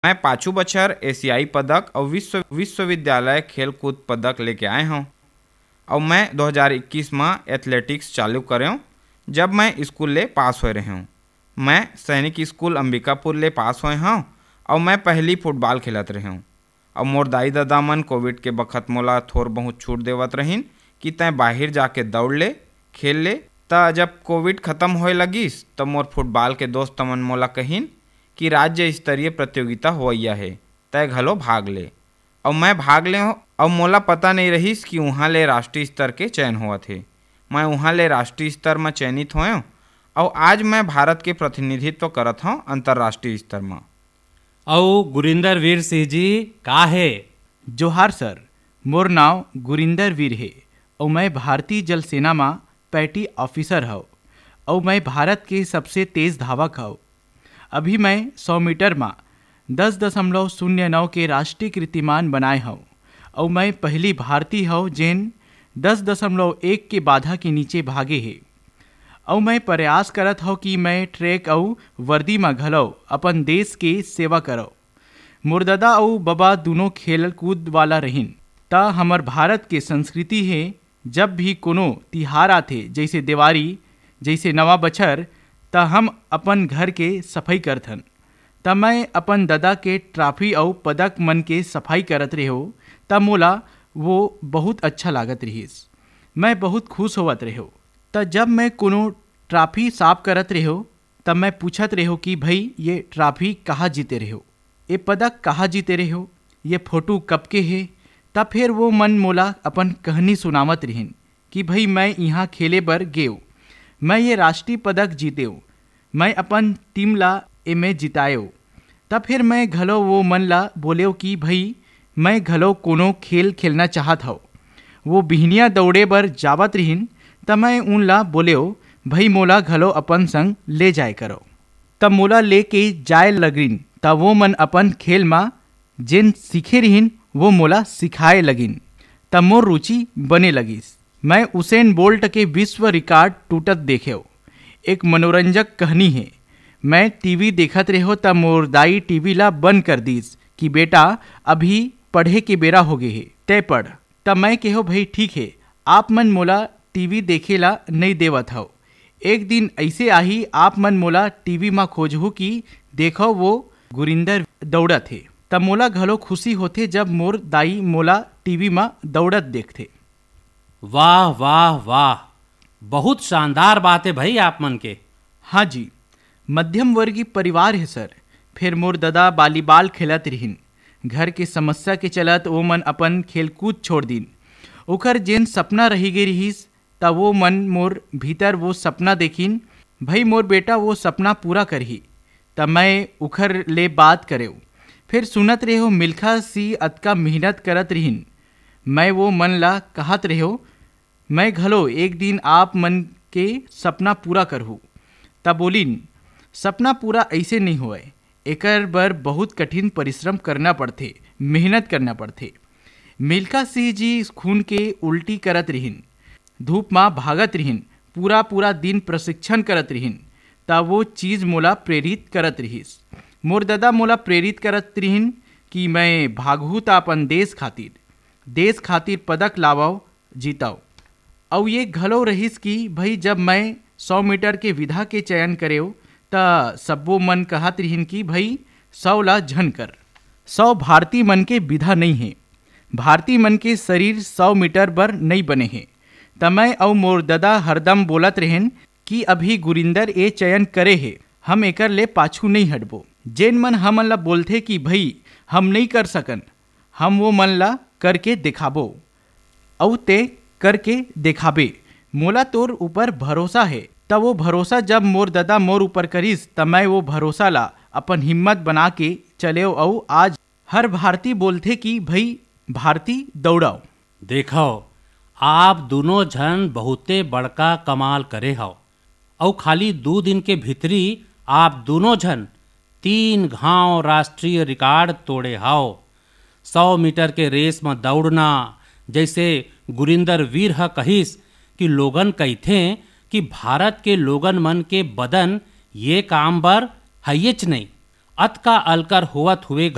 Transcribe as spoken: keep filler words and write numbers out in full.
मैं पाछू बछर एशियाई पदक अउ विश्व-, विश्वविद्यालय खेलकूद पदक लेके आए हौं। अउ मैं दो हज़ार इक्कीस म एथलेटिक्स चालू करेंव, जब मैं स्कूल ले पास होए रहेंव। मैं सैनिक स्कूल अंबिकापुर ले पास होए हौं अउ मैं पहली फुटबॉल खेलत रहेंव। अउ मोर दाई ददा मन कोविड के बखत मोला थोर बहुत छूट देवत रहिन कि तैं बाहिर जाके दौड़ ले, खेल ले। त जब कोविड खत्म होए लगिस, त मोर फुटबॉल के दोस्त मन मोला कहिन कि राज्य स्तरीय प्रतियोगिता होवइया हे, तैं घलो भाग ले। अउ मैं भाग ले हौं, अउ मोला पता नइ रहिस कि उहाँ ले राष्ट्रीय स्तर के चयन होवत हे। मैं उहाँ ले राष्ट्रीय स्तर म चयनित होएंव, अउ आज मैं भारत के प्रतिनिधित्व करत हौं अंतर्राष्ट्रीय स्तर म। अउ गुरिंदर वीर सिंह जी का हे? जोहार सर, मोर नाव गुरिंदर वीर हे, अउ मैं भारतीय जल सेना म पैटी ऑफिसर हव, अउ मैं भारत के सबसे तेज धावक हव। अभी मैं सौ मीटर म दस दशमलव शून्य नौ के राष्ट्रीय कीर्तिमान बनाए हव, अउ मैं पहली भारतीय हव, जेन दस दशमलव एक के बाधा के नीचे भागे हे। अउ मैं प्रयास करत हव कि मैं ट्रैक अउ वर्दी म घलव अपन देश के सेवा करव। मोर ददा अउ बबा दूनों खेल कूद वाला रहिन, त हमर भारत के संस्कृति हे, जब भी कोनो तिहार आथे, जइसे देवारी, जइसे नवा बछर, त हम अपन घर के सफई करथन। त मैं अपन ददा के ट्रॉफी अउ पदक मन के सफई करत रेहेंव, त मोला वो बहुत अच्छा लागत रिहिस। मैं बहुत खुश होवत रेहेंव। त जब मैं कोनो ट्रॉफी साफ करत रेहेंव, त मैं पूछत रेहेंव कि भई, ये ट्रॉफी कहाँ जीते रेहेंव? ये पदक कहाँ जीते रेहेंव? ये फोटो कब के हे? त फेर वो मन मोला अपन कहनी सुनावत रिहिन कि भई, मैं इहाँ खेले बर गेंव, मैं ये राष्ट्रीय पदक जीतेंव, मैं अपन टीम ला एमे जिताएंव। त फेर मैं घलो वो मन ला बोलेंव कि भई, मैं घलो कोनो खेल खेलना चाहत हव। वो बिहनिया दौड़े बर जावत रिहिन, त मैं उन ला बोलेंव, भई, मोला घलो अपन संग ले जाए करव। त मोला लेके जाए लगिन, त वो मन अपन खेल म जेन सीखे रिहिन, वो मोला सिखाए लगिन, त मोर रुचि बने लगिस। मैं उसेन बोल्ट के विश्व रिकॉर्ड टूटत देखेंव। एक मनोरंजक कहनी हे। मैं टीवी देखत रेहेंव, त मोर दाई टीवी ला बंद कर दीस कि बेटा, अभी पढ़े के बेरा होगे हे, तैं पढ़। त मैं केहेंव, भई ठीक हे, आप मन मोला टीवी देखे ला नइ देवत हव। एक दिन अइसे आही, आप मन मोला टीवी म खोजहू कि देखव, वो गुरिंदर दौड़त हे। त मोला घलो खुशी होथे, जब मोर दाई मोला टीवी म दौड़त देखथे। वाह, वाह, वाह, बहुत शानदार बात हे भई आप मन के। हाँ जी, मध्यम वर्गीय परिवार हे सर। फेर मोर ददा वॉलीबॉल खेलत रिहिन। घर के समस्या के चलत वो मन अपन खेलकूद छोड़ दीन। ओकर जेन सपना रहि गे रिहिस, त वो मन मोर भीतर वो सपना देखिन, भई, मोर बेटा वो सपना पूरा करही। त मैं उखर ले बात करेंव। फेर सुनत रेहेंव, मिल्खा सिंह अतका मेहनत करत रिहिन। मैं वो मन ला कहत रेहेंव, मैं घलो एक दिन आप मन के सपना पूरा करहूँ। त बोलिन, सपना पूरा अइसे नइ होवय, एकर बर बहुत कठिन परिश्रम करना पड़थे, मेहनत करना पड़थे। मिल्खा सिंह जी खून के उल्टी करत रिहिन, धूप म भागत रिहिन, पूरा पूरा दिन प्रशिक्षण करत रिहिन, त वो चीज मोला प्रेरित करत रिहिस। मोर ददा मोला प्रेरित करत रिहिन कि मैं भागहूँ त अपन देश खातिर, देश खातिर पदक लावव, जीतव। अउ ये घलो रहिस कि भई, जब मैं सौ मीटर के विधा के चयन करेंव, त सब्बो मन कहत रिहिन कि भई, सौ ला झन कर, सौ भारतीय मन के विधा नइ हे, भारतीय मन के शरीर सौ मीटर बर नइ बने हे। त मैं अउ मोर ददा हरदम बोलत रेहेन कि अभी गुरिंदर ए चयन करे हे, हम एकर ले पाछू नइ हटबो। जेन मन हमन ला बोलथे कि भई, हम नइ कर सकन, हम वो मन ला करके देखाबो, अउ ते करके देखाबे। मोला तोर ऊपर भरोसा हे। त वो भरोसा जब मोर ददा मोर ऊपर करिस, त मैं वो भरोसा ला अपन हिम्मत बना के चलेंव, अउ आज हर भारती बोलथे कि भई, भारती दौड़व। देखव, आप दूनों झन बहुते बड़का कमाल करे हव। अउ खाली दू दिन के भीतरी आप दूनों झन तीन घांव राष्ट्रीय रिकॉर्ड तोड़े हव। सौ मीटर के रेस म दउड़ना, जइसे गुरिंदर वीर ह कहिस कि लोगन कहिथें कि भारत के लोगन मन के बदन ये काम बर हइयेच नइ। अतका अलकर होवत हुए